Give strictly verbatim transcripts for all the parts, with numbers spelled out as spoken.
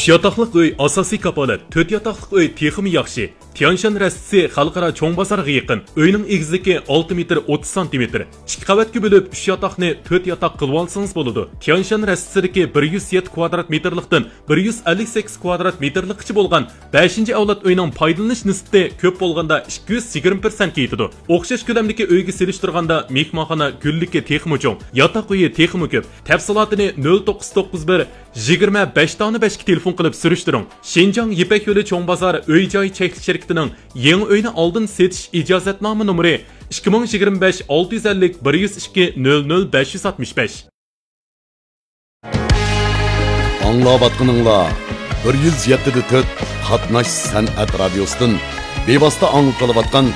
ئۈچ ياتاقلىق ئۆي ئاساسىي كاپالەت، تۆت ياتاقلىق ئۆي تېخىمۇ ياخشى. تيانشان رەستىسى خەلقئارا چوڭ بازارغا يېقىن. ئۆينىڭ ئېگىزلىكى ئالتە مېتىر ئوتتۇز سانتىمېتىر. ئىككى قەۋەتكە بۆلۈپ، ئۈچ ياتاقنى تۆت ياتاق قىلىۋالسىڭىز بولىدۇ. تيانشان رەستىسىدىكى بىر يۈز يەتتە كۋادرات مېتىرلىقتىن بىر يۈز ئەللىك سەككىز كۋادرات مېتىرلىققىچە بولغان بەشىنچى ئەۋلاد ئۆينىڭ پايدىلىنىش نىسبىتى كۆپ بولغاندا ئىككى يۈز يىگىرمە پىرسەنتكە يېتىدۇ. ئوخشاش كۆلەمدىكى ئۆيگە سېلىشتۇرغاندا مېھمانخانا گۈللۈكى تېخىمۇ چوڭ، ياتاق ئۆيى تېخىمۇ كۆپ. تەپسىلاتىنى نۆل توققۇز توققۇز بىر، يىگىرمە بەش دانە بەشكە تېلېفون قىلىپ سۈرۈشتۈرۈڭ. شىنجاڭ يىپەك يولى چوڭ بازار ئۆي جاي چەكلىك شىركىتىنىڭ يېڭى ئۆينى ئالدىن سېتىش ئىجازەتنامە نومۇرى ئىككى مىڭ يىگىرمە بەش ئالتە يۈز ئەللىك بىر يۈز ئىككى نۆل نۆل بەش يۈز ئاتمىش بەش. ئاڭلاۋاتقىنىڭلار بىر يۈز يەتتە دە تۆت قاتناش سەنئەت رادىيوسىدىن بىۋاسىتە ئاڭلىتىلىۋاتقان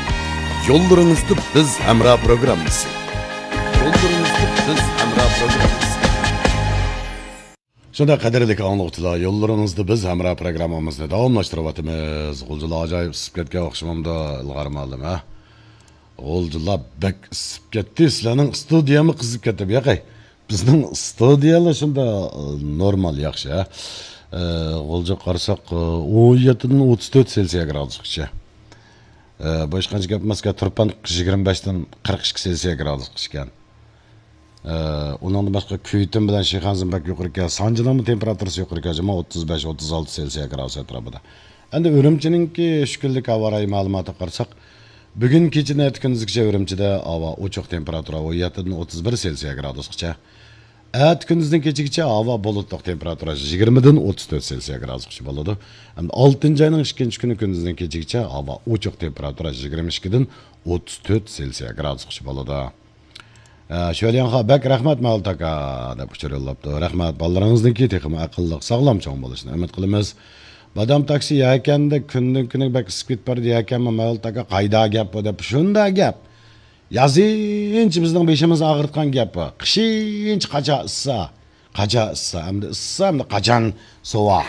يوللىرىڭىزدا بىز ھەمراھ پروگراممىسى. يوللىرىڭىزدا بىز ھەمراھ پروگراممىسى. شۇنداق، قەدىرلىك ئاڭلىغۇچىلار، يوللىرىڭىزدا بىز ھەمراھ پروگراممىمىزنى داۋاملاشتۇرۇۋاتىمىز. غۇلجىلار ئاجايىپ ئىسسىپ كەتكەن ئوخشىمامدۇ، ئىلغار مۇئەللىم، ھە؟ غۇلجىلار بەك ئىسسىپ كەتتى، سىلەرنىڭ ئىستۇدىيەمۇ قىزىپ كەتتى بۇ ياقى. بىزنىڭ ئىستۇدىيەلەر شۇنداق، ئى، نورمال، ياخشى، ھە؟ ئى، غۇلجىغا قارىساق، ئى، ئون يەتتىدىن ئوتتۇز تۆت سېلسىيە گرادۇسقىچە. ئى، بۇ ھېچقانچە گەپ ئەمەسكەن، تۇرپان يىگىرمە بەشتىن قىرىق ئىككى سېلسىيە گرادۇسقىچە ئىكەن. ئى، ئۇنىڭدىن باشقا كۈيتۈن بىلەن شىخەنزىن بەك يۇقىرى ئىكەن، سانجىنىڭمۇ تېمپېراتۇرىسى يۇقىرى ئىكەن، جۇما ئوتتۇز بەش، ئوتتۇز ئالتە سېلسىيە گرادۇس ئەتراپىدا. ئەمدى ئۈرۈمچىنىڭكى ئۈچ كۈنلۈك ھاۋا رايى مەلۇماتىغا قارىساق، بۈگۈن كېچىدىن ئەتە كۈندۈزگىچە ئۈرۈمچىدە ھاۋا ئوچۇق، تېمپېراتۇرا ئون يەتتىدىن ئوتتۇز بىر سېلسىيە گرادۇسقىچە. ئەتە كۈندۈزدىن كېچىگىچە ھاۋا بۇلۇتلۇق، تېمپېراتۇرا يىگىرمىدىن ئوتتۇز تۆت سېلسىيە گرادۇسقىچە بولىدۇ. ئەمدى ئالتىنچى ئاينىڭ ئىككىنچى كۈنى كۈندۈزدىن كېچىگىچە ھاۋا ئوچۇق، تېمپېراتۇرا يىگىرمە ئىككىدىن ئوتتۇز تۆت سېلسىيە گرادۇسقىچە بولىدۇ. ئە، شۆليەنخا بەك رەھمەت، مەۋلۇت ئاكا، دەپ ئۇچۇر يوللاپتۇ. رەھمەت، بالىلىرىڭىزنىڭكى تېخىمۇ ئەقىللىق، ساغلام چوڭ بولۇشىنى ئۈمىد قىلىمىز. بادام تاكسى يەكەندە كۈندىن كۈنگە بەك ئىسسىپ كېتىپ بارىدۇ، يەكەنمۇ مەۋلۇت ئاكا، قايدا گەپ بۇ دەپ، شۇنداق گەپ. يازىنچە بىزنىڭ بېشىمىزنى ئاغرىتقان گەپ بۇ. قىشىنچە قاچا ئىسسا، قاچا ئىسسا، ئەمدى ئىسسا، ئەمدى قاچان سوۋا.